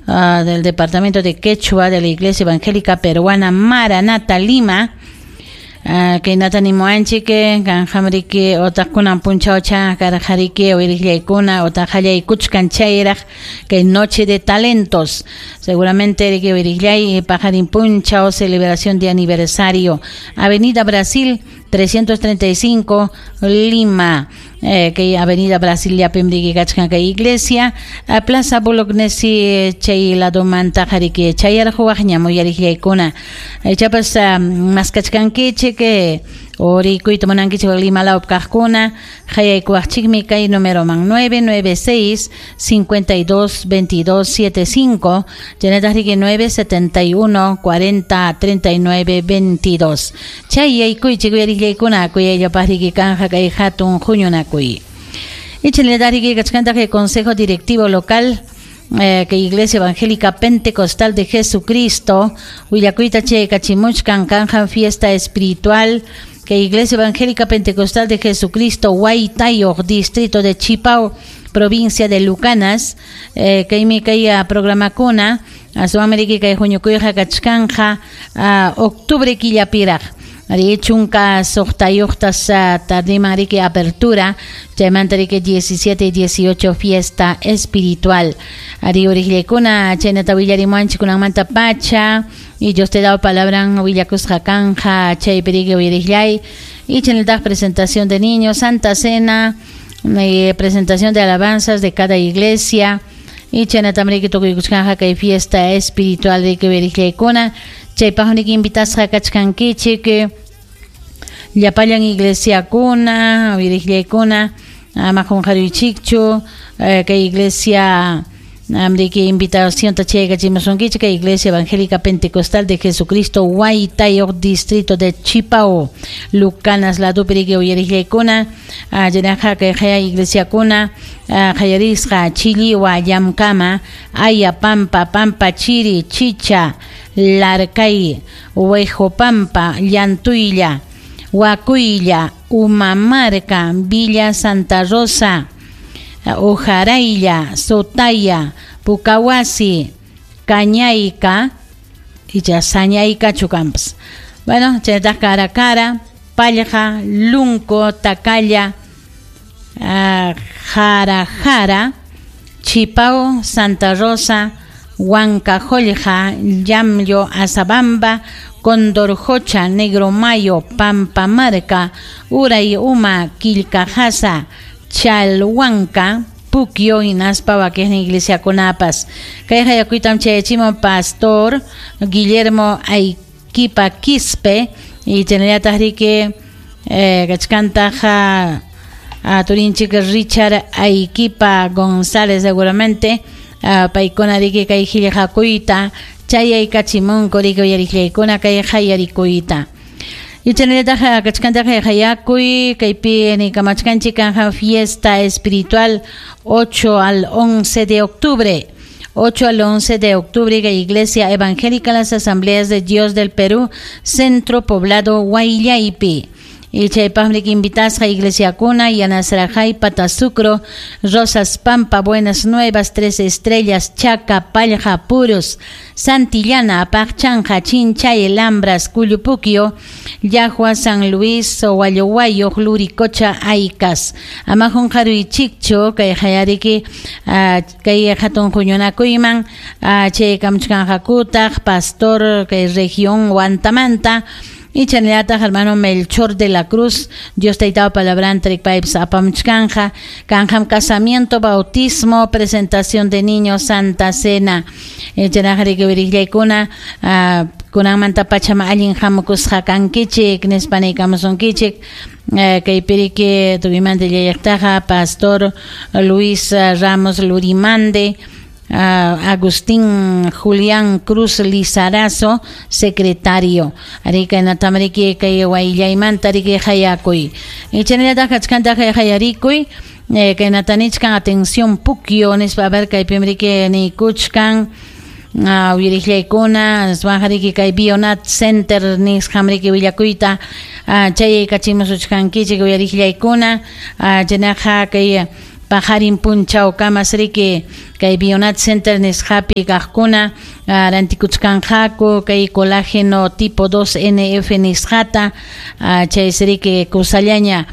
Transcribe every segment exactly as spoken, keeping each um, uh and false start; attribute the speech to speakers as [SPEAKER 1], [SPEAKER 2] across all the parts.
[SPEAKER 1] uh, del Departamento de Quechua de la Iglesia Evangélica Peruana Maranata Lima. Uh, kaynata nimuwanchik kanqamriki otaq kunan punchawcha karqariki uyariqllaykuna otaq qallaykuchkan chayraq kay Noche de Talentos seguramente riki uyariqllay paqarin punchaw celebración de aniversario Avenida Brasil trescientos treinta y cinco Lima, eh, kay Avenida Brasil llapim riki kachkan kay iglesia a Plaza Bolognesi chay ladomanta qariki chayarquwaqñam uyariqllaykuna ichapas maskachkankichik orikuyta munankichik Lima lawpi kaqkuna qayaykuwaqchikmi kay numeroman nueve nueve seis cincuenta y dos veintidós siete cinco chaynataq riki nueve setenta y uno cuarenta treinta y nueve veintidós chay yaykuychik uyariqllaykuna kuyayllapaq riki kanja kay hatun huñunakuy. Y chaynataq riki kachkantaq el Consejo Directivo Local Eh, que Iglesia Evangélica Pentecostal de Jesucristo willakuyta chay kachimuchkan kanjan fiesta espiritual que Iglesia Evangélica Pentecostal de Jesucristo Huaytayoq, distrito de Chipao, provincia de Lucanas, eh, kaymi kay programakuna asuameriki kay huñukuyqa kachkanja octubre killapiraq ari chunka suqtayuqtas tardiman riki apertura chaymanta riki diecisiete y dieciocho fiesta espiritual ari uriqllaykuna chaynata willarimuanchik kunanmanta pacha y Dios te da palabra willakusqa kanja chaypi riki uyariqllay y chaynataq presentación de niños, Santa Cena, eh, presentación de alabanzas de cada iglesia y chaynatam riki tukuykuchkanja kay fiesta espiritual riki uyariqllaykuna chaypaq riki invitasqa kachkankichik llapallan iglesiakuna uyariqllaykuna ama qunqaruychikchu kay iglesia amriki invitación ta chaykachimusunkichik kay Iglesia Evangélica Pentecostal de Jesucristo Huaytayoq, distrito de Chipao, Lucanas ladopi riki uyariqllaykuna chaynaqa kay qaya iglesiakuna qallarisqa Chilliwa, Llamkama, Aya Pampa, Pampa Chiri, Chicha, Larcay, Huejopampa, Llantuylla, Huacuylla, Umamarca, Villa Santa Rosa, Ojaraylla, Sotaya, Pucahuasi, Cañayca y ya Sañayca Chucampas. Bueno, chaynataq Cara Cara, Pallja, Lunco, Tacalla, uh, Jara Jara, Chipao, Santa Rosa, Huancajollja, Llamllo, Azabamba, Condorjocha, Negro Mayo, Pampamarca, Uray Uma, Quilcajasa, Chalhuanca, Puquio, hinaspa wakiqnin iglesia kunapas. Kay hayakuytam chayachimon pastor Guillermo Aiquipa Quispe y chaynallataq riki eh, kachkantaqa turinchik Richard Aiquipa González seguramente uh, paykuna riki kay qillqakuyta chayaykachimunku riki uyariqllaykuna kay qayarikuyta. Y chaynallataq kachkantaq hayakuy kaypi nikamachkanchik kanja fiesta espiritual ocho al once de octubre. ocho al once de octubre, Iglesia Evangélica Las Asambleas de Dios del Perú, Centro Poblado Huayllaypi. Y chaypaqmi invitasqa iglesiakuna Yanasrajay, Patasucro, Rosas Pampa, Buenas Nuevas, Tres Estrellas, Chaca, Pallja, Puros, Santillana, Apaqchanja, Chinchay, Lambras, Cuyupuquio, Yahua, San Luis, Huayohuayo, Luricocha, Aycas. Amajun haruy chikchu, kay hayariki, kay hatun huñunakuyman, chay kamchkanjakutaq, pastor, kay región Huantamanta, y chaynallataq hermano Melchor de la Cruz, Dios taytapa palabra pipes apamchkanja, kanjam casamiento, bautismo, presentación de niños, Santa Cena. Chaynaqriki wiriqllaykuna, kunanmanta pachama allin hamukusqa kankichik, nispa niykamusunkichik. Kay piriki tukuymanta llayaqtaqa pastor Luis Ramos Lurimande, Uh, Agustín Julián Cruz Lizarazo, secretario. Arika natamariki kay wayllaymanta riki hayakuy. Ichanallataq kachkantaq hayarikuy, kay natanichkan atención pukyo nispa a ver kay pimriki niykuchkan uyariqllaykuna aswanjariki kay Bionat Center nisqamriki willakuyta chay kachimusuchkankichik uyariqllaykuna chaynaqa kay Paqarin punchawkamas riki kay Bionat Center nisqapi kaqkuna rantikuchkanqaku kay colágeno tipo dos N F nisqata, chaysi riki kusallaña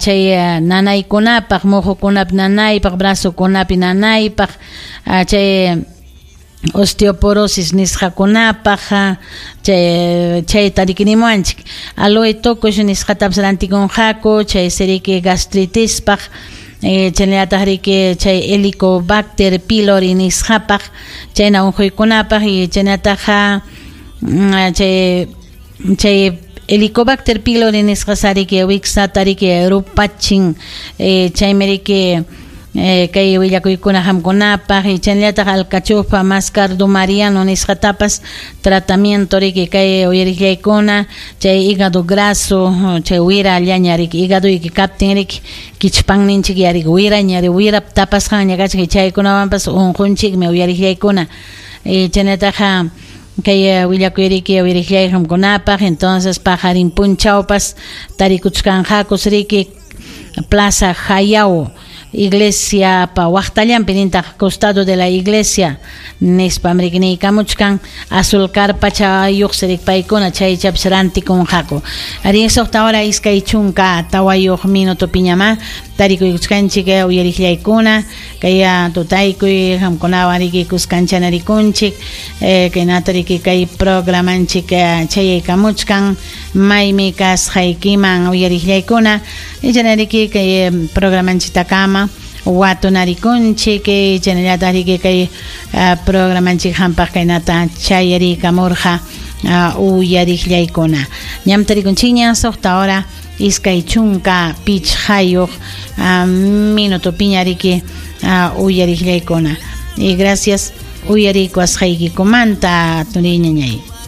[SPEAKER 1] chay nanaykunapaq, muhukunap nanaypaq, brazokunapi nanaypaq, chay osteoporosis nisqakunapaq, chay chayta rikinimuanchik. Aloe tokush nisqatapas rantikunqaku, chaysi riki gastritispaq, chaynallataq riki chay Helicobacter pylori nisqapaq, chayna unquykunapaq, y chaynataqa chay chay Helicobacter pylori nisqas riki wiksata riki rupachin, chaymi riki kay willakuykuna hamkunapaq, y chaynallataq alcachofa mascardo mariano nisqatapas tratamiento riki kay uyariqllaykuna, chay hígado graso, chay wira llaña riki hígadoyki kaptin riki kichpanninchik yariki wiraña wirap tapasqanña kachkan, chaykunawanpas unqunchikmi uyariqllaykuna. Chaynataqa kay willakuy riki uyariqllay hamkunapaq. Entonces paqarin punchawpas tarikuchkanqakus riki Plaza Jayao iglesia pa waqtallanpi nintaq costado de la iglesia nispam riki niykamuchkan azul carpachayuq sirik paykuna chaychapis rantikunqaku. Arí suqta hora iskay chunka tawayuq minuto piñama tarikuykuchkanchik uyariqllaykuna kay tutaykuy hamkunawan riki kuskancha-narikunchik, kaynata riki kay programanchik chayaykamuchkan maymi kasqaykiman uyariqllaykuna, ichanariki kay programanchiktakama watunarikunchik, chaynallataq riki kay programanchik hampaq kaynata chayarikamurqa uyariqllaykuna. Ñam tarikunchikña suqta hora iskay chunka pichqayuq minuto piñariki uyariqllaykuna. Y gracias uyarikuasqaykikumanta turiñañay.